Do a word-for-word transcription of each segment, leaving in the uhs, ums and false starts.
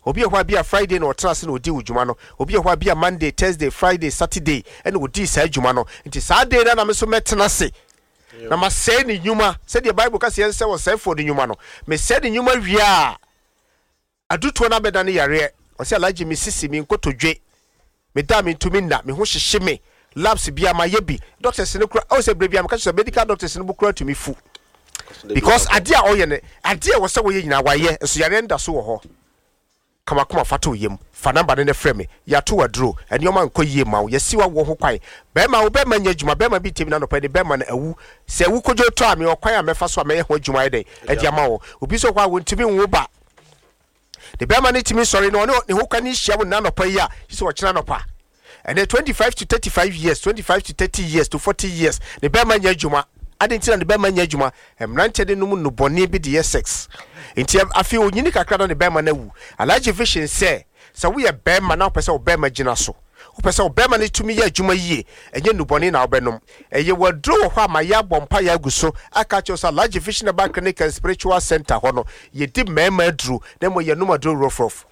Obi wɔ hɔ a, bi a Friday na ɔtena ase na ɔdi wo dwuma no. Obi wɔ hɔ a, bi a Monday, Thursday, Friday, Saturday ɛna ɔdii saa adwuma no. Nti saa day no na me so mɛtena ase na masɛe ne nnwuma, sɛdeɛ Bible ka sɛ yɛnsɛ ɔsɛefoɔ no nnwuma no. Mesɛe ne nnwuma wie a, adutoɔ no abɛda ne yareɛ. Ɔsɛ, "Alagye, me sisi, me nkotodwe, meda mentumi nna, me ho hyehye me. Labs bia mayɛ bi, doctors no kora ɔwɔ sɛ berɛ bia meka kyerɛ sɛ medical doctors no bo kora tumi fu because adeɛ a ɔyɛ no, adeɛ a ɛwɔ sɛ wɔyɛ nyinaa wayɛ, nso yareɛ no da so wɔ hɔ." Kamakoma fa to yam, fa number no ne frɛ me. Yɛato waduro, nneɛma nkɔ yie ma wo, yɛsi wa wɔ ho kwan. Bɛrima, wo bɛrima nyɛ adwuma. Bɛrima bi tɛmi na nɔpɛ ne bɛrima no awu sɛ awu kodwo tɔ a, mewɔ kwan a mɛfa so a mɛyɛ ho adwuma. Yɛ dɛn ɛde ama wo? Obi nso hɔ a wɔntumi nwo ba ne bɛrima no tumi sɔre na ɔne ne ho kwan hyia wo nna nɔpa yi a sɛ ɔkyena nɔpa ɛnɛ twenty-five to thirty-five years, twenty-five to thirty years to forty years, ne bɛrima nyɛ adwuma. Ade nti na ne bɛrima nyɛ adwuma? Mmeranteɛ de nom nnubɔne bi de yɛ sex. Nti afei onyini kakra na ne bɛrima no awu. Alhaji Vision sɛ sɛ woyɛ bɛrima na wopɛ sɛ wo bɛrima gyina so, wopɛ sɛ wo bɛrima no tumi yɛ adwuma yie, ɛnyɛ nnubɔne na wobɛnom. Ɛyɛ waduro wɔ hɔ a ma yɛ abɔ mpa yɛ agu so aka kyerɛ sɛ Alhaji Vision Herbal Clinic and Spiritual Center hɔ no, yɛdi mmarima aduro na mmom yɛnom aduro rɔfrɔf.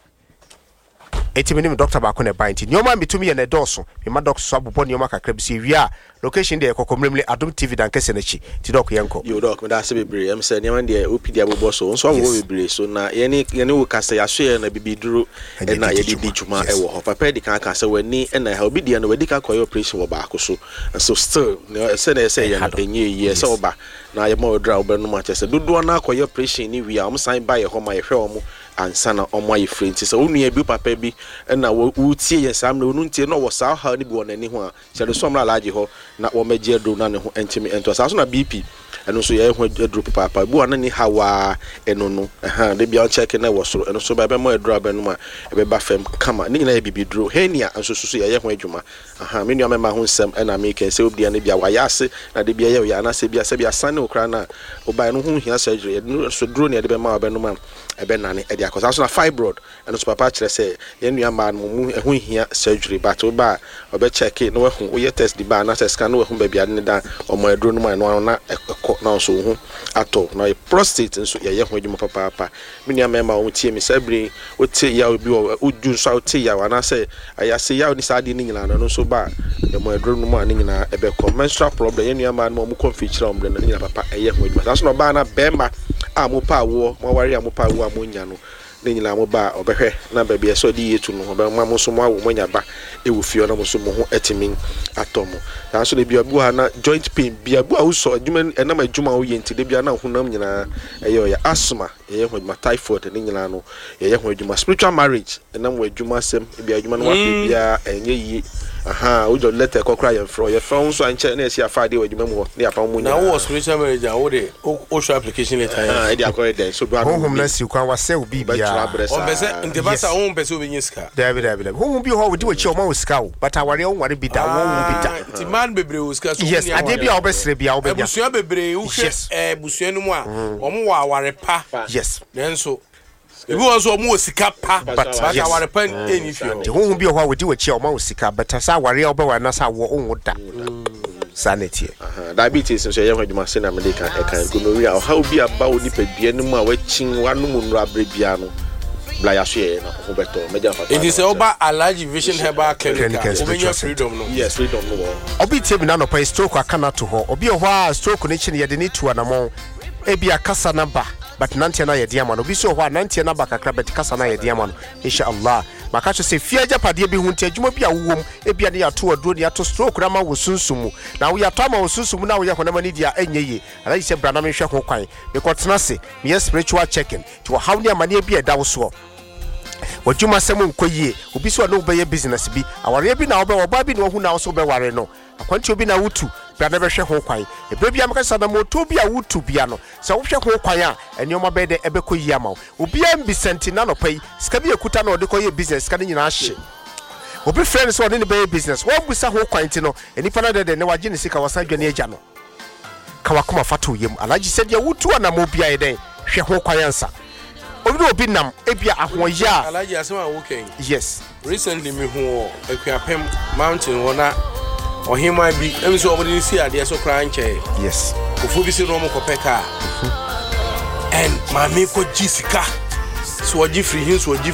Eti mi ne mi doctor baako na ɛban, nti nneɛma a mitumi yɛ na ɛdɔɔso. Mema doctor so abobɔ nneɛma kakra bi so. Ewie a, location deɛ, yɛkɔkɔ Mmeremle Adom T V dankɛsɛ n'akyi. Nti Doc, yɛnkɔ. Yo, Doc, meda ase bebree. Ɛm sɛ nneɛma deɛ wopi de abobɔ so nso abobɔ Yes. bebree so na yɛne yɛne wo kasa, yɛaso yɛ na bibiduro ɛna ɛna yɛde yɛde di di dwuma. dwuma. Yes. Ɛwɔ hɔ papa di kan ka sɛ w'ani ɛna ɛha obi deɛ no, wadi kan kɔyɛ operation wɔ baako so, nso still nea ɛsɛ na ɛsɛ yɛ no ɛha do. Ɛnyɛ yie ɛsɛ Yes. ɔba na yɛma ɔduru a wobɛnom akyɛ sɛ dodoɔ no akɔyɛ operation ne wie a, ɔmo san ba yɛ hɔ ma yɛhwɛ ɔmo ansa na ɔmo ayɛ firi. Nti sɛ wo nua bi, wo papa bi ɛna wo- wotie yɛn saa mmerɛ, wo ntie na ɔwɔ saa ɔhaw no bi wɔ n'ani ho a, kyerɛ no so ɔmmra Alagye hɔ na wɔmmɛgye aduro na ne ho ntumi ɛntoa saa so. Na B P ɛno nso yɛyɛ ho aduro papaapa. Bi wɔ na ne haw a ɛno no ɛha de bia ɔnkyɛke na ɛwɔ soro, ɛno nso ba ɛbɛma aduro a bɛnom a ɛbɛba fam kama. Ne nyinaa yɛ bibiduro. Hernia nso so so yɛyɛ ho adwuma. Aha, me nua mɛma ho nsɛm ɛna meka sɛ obia no bia wayɛ ase na de bia yɛ ɔyɛ anaasɛ bia sɛ bia sane wo koraa no a wobaeɛ no ho hia surgery, yɛde no so duro ne yɛde bɛma wo bɛnom a ɛbɛnane ɛde akɔ saa so. Na fibroid ɛno nso papa kyerɛ sɛ yɛn nua mmaa no mu ɛho hia surgery, but woba a ɔbɛkyɛke na wahu, woyɛ test de ba anaasɛ scan na wahu baabi ade ne da, ɔmo aduro no mu a ɛno ano na ɛkɔ na nso wo ho atɔ. Na ɔyɛ prostate nso yɛyɛ ho adwuma papaapa. Me nua mmarima a wɔn tie me saa bere yi, wote yaw bi wɔ wodwu nso a wote yaw anaasɛ ayase yaw ne saa adeɛ no nyinaa no, ɛno nso ba a ɛmo aduro no mu a ne nyinaa ɛbɛkɔ. Menstrual problem, yɛn nua mmaa no mu a wɔn kɔ mfikyire a wɔn brɛ no, ne nyinaa papa ɛyɛ ho adwuma saa so. Na ɔbaa na bɛrima a mo pa awoɔ, mo aware a mo pa awoɔ a mo nya no ne nyinaa, mo ba a ɔbɛhwɛ na baabi a ɛsɛ ɔde yie tu no, ɔbɛma mo nso mo awo, mo anya ba ɛwɔ fie hɔ na mo nso mo ho ɛtumi atɔ mo saa nso. Na ebi obi wɔ ha na joint pain bia bi a wosɔ adwuma, ɛnam adwuma a woyɛ nti de bia na honam nyinaa ɛyɛ ɔyɛ. Asthma yɛyɛ ho adwuma, typhoid ne nyinaa no yɛyɛ ho adwuma. Spiritual marriage ɛnam wɔ adwuma asɛm ebi adwuma no wapɛ biara ɛnyɛ yie. Aha, wogya letter kɔ koraa, yɛmfrɛ yɛfrɛ wo nso ankyɛ na yɛsi afa adeɛ wɔ adwuma mu hɔ ne yɛapa mu na nyinaa. Wowɔ spiritual marriage a, wode wohwɛ application letter yɛ. Ɛde akɔyɛ dɛn so bra no? Honhom no asi kwan, wasɛ wo bɛtwerɛ biribiara. abrɛ saa. Ɔmpɛ sɛ nti ba Yes. sa wompɛ sɛ wobɛnya sika. Dabi, dabi, dabi. Honhom bi wɔ hɔ a wodi w'akyi a ɔma wo sika o, but awareɛ wonware bi da, wɔnwo bi da. Ah, nti mmaa no bebree wɔ sika so. Yes. Wonni Adeɛ bi a aware. wobɛsrɛ bi a wobɛnya. Abusua bebree wohwɛ Yes. eh, abusua no mu a ɔmo wɔ aware pa, yes nanso ebi wɔ nso ɔmo wɔ sika pa, But, but yes. aware pa ɛnni fie hɔ. Nti honhom bi wɔ hɔ a wodi w'akyi a ɔma wo sika, but sɛ awareɛ a wobɛware na sɛ awoɔ wonwo da, saa na ɛteɛ. Aha, diabetes nso ɛyɛ ho adwuma sɛ na mede ka ɛka gonorrhea, ɔhaw bi aba wo nipadua no mu a wakyin wanom nnuro aberɛ biara no, bla yɛaso yɛyɛ na ho bɛtɔ mɛgya papa. Nti sɛ woba Alhaji Vision Herbal Clinic a, Clinic and wobɛnya Spiritual freedom no. Yes, freedom no wɔ hɔ. Obi tie mi n'anɔpa yi, stroke aka no ato hɔ. Obi wɔ hɔ a stroke no kyi no, yɛde ne tu anammɔn, ebi akasa no ba, but nanteɛ no ayɛ den ama no. Obi nso wɔ hɔ a nanteɛ no aba kakra, but kasa no ayɛ den ama no. Inshallah, maka kyerɛ sɛ fie agyapadeɛ bi ho nti, adwuma bi a wowɔ mu, ebia ne yɛato aduro ne yɛato stroke no ama wo sunsum mu, na woyɛatɔ ama wo sunsum mu na woyɛ honam ani deɛ a ɛnyɛ yie. Alhaji sɛ bra na menhwɛ ho kwan, mekɔtena ase meyɛ spiritual checking. Nti wɔhaw ne amanneɛ bi a ɛda wo soɔ, w'adwuma sɛm nkɔ yie, obi so a ne wobɛyɛ business bi, awareɛ bi na wobɛ, ɔbaa bi na wahu na wo so wobɛware no, akwantuo bi na wotu, bra na bɛhwɛ ho kwan. Ɛberɛ bia mɛka sɛ anammɔtuo bi a wotu bia no, sɛ wohwɛ ho kwan a, ɛnneɔma bɛyɛ dɛ ɛbɛkɔ yie ama wo. Obiara mbisa nti na nɔpa yi sika bi ekuta na ɔde kɔyɛ business, sika no nyinaa hye. Obi frɛ no sɛ ɔne ne bɛyɛ business, wɔmbusa ho kwan nti no, nipa no dɛdɛ ne wagye ne sika, wasan dwane agya no. Ka wakoma fa to yam, Alagye, sɛdeɛ wotu anammɔ bia yɛ dɛn, hwɛ ho kwan ansa. Obi ne obi nam ebia ahoɔyɛ a Alhaji, asɛm a woka yi, yes recently mehu wɔ Akuapem mountain hɔ na ɔheman bi ɛmi sɛ ɔmode no si adeɛ so koraa nkyɛn. Yes kofoɔ bi sɛ na ɔmo kɔpɛ kaa and maame kɔgye sika so, ɔgye firi hin so, ɔgye